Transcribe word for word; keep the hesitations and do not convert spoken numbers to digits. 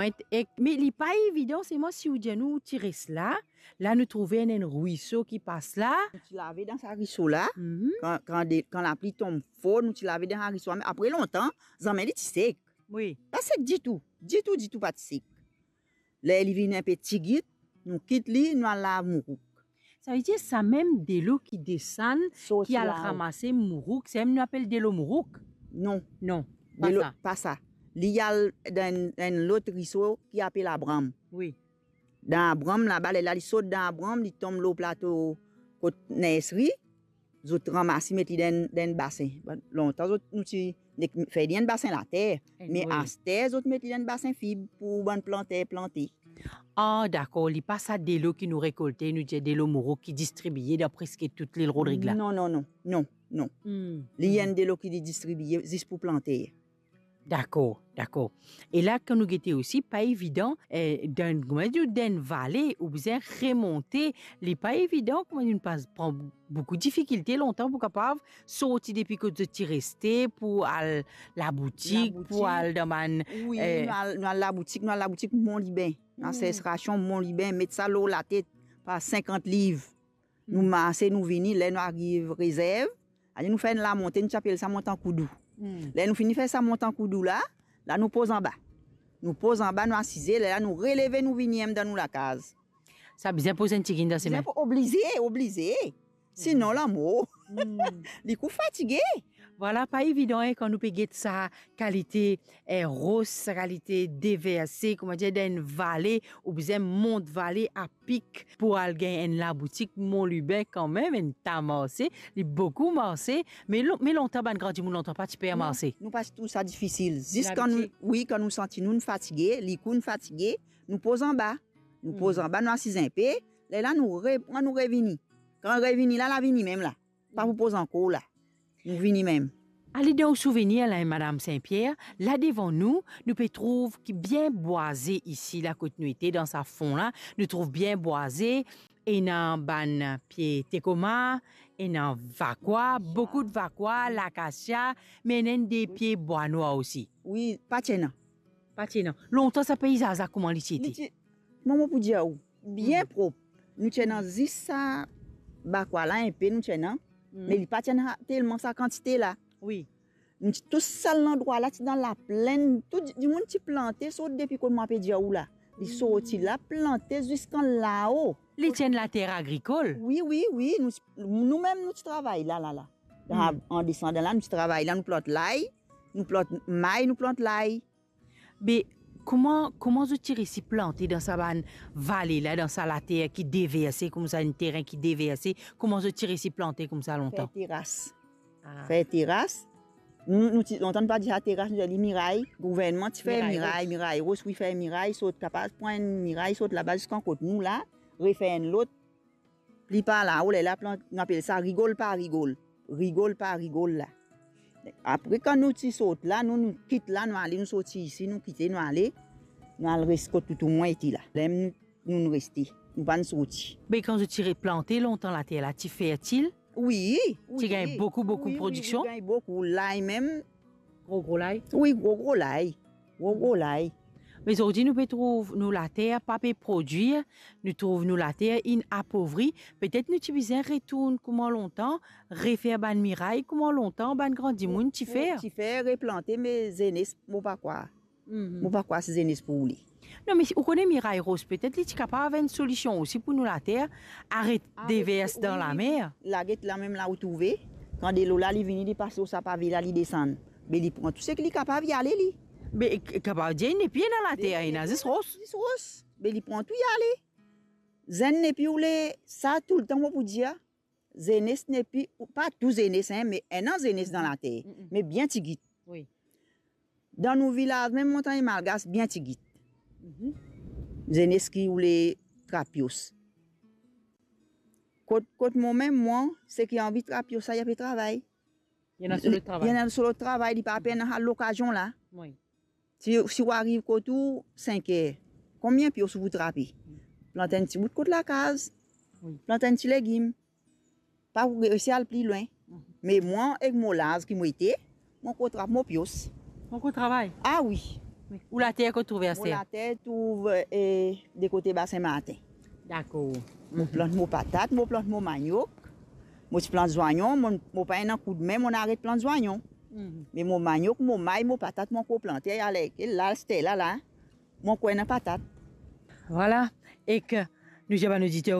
Ek, me li pa evidan, selman si ou dir nou ti res la, la nou trouve enn, enn rwiso ki pas la. Nou ti lave dan sa rwiso la, mhm, kan, kan de, kan lapli tonm for, nou ti lave dan sa rwiso la, me apre lontan, zame li ti sek. Wi. Pa sek ditou, ditou, ditou pa ti sek. Ler li vinn inpe tigit, nou kit li, nou al lav mourouk. Savedir sa mem delo ki desann, sort ki al la ramase mourouk, sa mem nou apel delo mourouk? Non. Non, pa delo, sa. Pa sa. Li al dan enn, enn lot rwiso ki apel Abram. Wi. Dan Abram laba, lerla li sot dan Abram, li tonm lor plato kot Nersri, zot ramas li, met li dan, dan enn basin. Lontan zot, nou ti nek fer li enn basin later, me aster zot met li dan enn basin fib pou bann planter plante. Ah, dakor, li pa sa delo ki nou rekolte, nou dir delo mourouk ki distribie dan preske tou Lil Rodrig la. Non, non, non, non, non. Hmm. Li enn delo ki li distribie zis pou planter. Dakor, dakor. E la, kan nou gete osi, pa evidan, eh, dan, kouma dir, dan enn vale, ou bizin remonte, li pa evidan, kouma dir, nou pas pran boukou difikilte lontan pou kapav sorti depi kot zot ti reste, pou al laboutik, laboutik, pou al dan bann, wi, eh, nou al, nou al laboutik, nou al laboutik Mont Liben, hmm, asosiasion Mont Liben, met sa lor latet par sinkant liv. Nou, hmm, marse, nou vini, ler nou ariv rezerv, ale nou fer enn lamonte, nou ti apel sa Mont Ankoudou. Hmm. Ler nou fini fer sa Mont Ankoudou la, la nou poz anba. Nou poz anba, nou asize, lerla nou releve, nou vini mem dan nou lakaz. Sa bizin poz enn tigit dan semin. Bizin po-, oblize, oblize. Sinon, lanmor. Hmm. Li kou fatige. Vwala, pa evidan, en, kan nou pe get sa kalite, eh, ros, sa kalite deverse, kouma dir, dan enn vale, ou bizin mont vale apik pou al gagn enn laboutik Mont Liben kanmem, enn ta marse, li boukou marse, me lon-, me lontan bann gran dimoun lontan pa ti pe marse. Non, nou pa ti trouv sa difisil. Zis kan nou, wi, kan nou santi nou fatige, likou nou fatige, nou poz anba. Nou poz anba, nou asiz inpe, lerla nou re-, nou revini. Kan revini la, la vini mem la. Pa pou poz ankor la. Nou vini mem. Ale dan ou souvenir la, Madam Saint-Pierre, la devan nou, nou pe trouv ki bien bwaze isi la kot nou ete, dan sa fon la, nou trouv bien bwaze, ena bann pie tekoma, ena vakwa, boukou vakwa, lakasia, me ena enn de pie bwa nwar osi. Wi, pa ti ena. Pa ti ena. Lontan sa peizaz la kouma li ti ete? Li ti, kouma mo pou dir ou, bien prop. Nou ti ena zis sa vakwa la inpe, nou ti ena, me li pa ti ena telman sa kantite la. Wi. Nou ti, tou sa landrwa la ti dan laplenn, tou di-, dimoun ti plante, sot depi kot mo pe dir ou la. Li sorti la, plante ziskan lao. Li ti enn later agrikol? Wi, wi, wi. Nou, nou mem nou ti travay la, la, la. Dan, an desandan la, nou ti travay la, nou plant lay, nou plant may, nou plant lay. Be, kouma, kouma zot ti resi plante dan sa bann vale la, dan sa later ki deverse koumsa, enn teren ki deverse, kouma zot ti resi plante koumsa lontan? Fer teras. Ah. Fer teras. Nou, nou ti, lontan nou pa dir sa teras, nou dir li miray. Gouvernman ti fer miray, miray ros, wi, fer miray, sot kapav pran enn miray, sot laba ziskan kot nou la, refer enn lot. Pli par lao, lerla plant, nou apel sa rigol par rigol. Rigol par rigol la. Apre, kan nou ti sot la, nou, nou kit la, nou ale, nou sorti isi, nou kite, nou ale, nou al res kot toutou mwa ete la. Lerla nou, nou, nou reste, nou pa'nn sorti. Me kan zot ti replante lontan later la, ti fertil? Wi, wi. Ti gagn boukou, boukou prodiksion? Wi, wi, gagn boukou. Lay mem, gro, gro lay? Wi, gro, gro lay. Gro, gro lay. Me zordi nou pe trouv nou later pa pe prodwir, nou trouv nou later inn apovri. Petet nou ti bizin retourn kouma lontan, refer bann miray kouma lontan bann gran dimoun ti fer. Ti fer, replante, me zenes, mo pa krwar. Mo pa krwar si zenes pou oule. Non, me ou kone miray ros, petet li ti kapav enn solision osi pou nou later, aret devers dan lamer. Wi, wi, wi. La, get la mem la ou trouve, kan delo la li vini, li pase lor sa pave la, li desann. Be li pran tou seki li kapav, li ale li. Be k-, kapav dir, ena pli ena later, ena zis ros. Zis ros. Be li pran tou, li ale. Zenn nepli oule, sa toultan mo pou dir, zenes nepli, pa tou zenes, en, me ena zenes dan later, me bien tigit. Wi. Dan nou vilaz, mem Montagne Malgache, bien tigit. Zenes ki oule trap pios. Kot, kot mo mem, mwa, seki anvi trap pios sa, li pe travay. Li ena so lot travay. Li ena so lot travay, li pa pena sa lokazion la. Wi. Si, si ou ariv kot ou, sink er, konbien pios ou pou trape? Plant enn ti bout kot lakaz, plant enn ti legim. Pa pou resi al pli lwin. Me mwa, ek mo laz ki mo ete, mo ankor trap mo pios. Mo ankor travay? Ah wi. Ou later kot trouve, mo aster? Later trouve, eh, de kote Basin Martin. Dakor. Mo plant mo patat, mo plant mo maniok, mo ti plant zwayon, mo, mo pa ena koudme, mo aret plant zwayon. Me mo maniok, mo may, mo patat, mo ankor plante, aler ke la, aster la, la, mo ankor ena patat. Vwala, ek nou dir bann oditer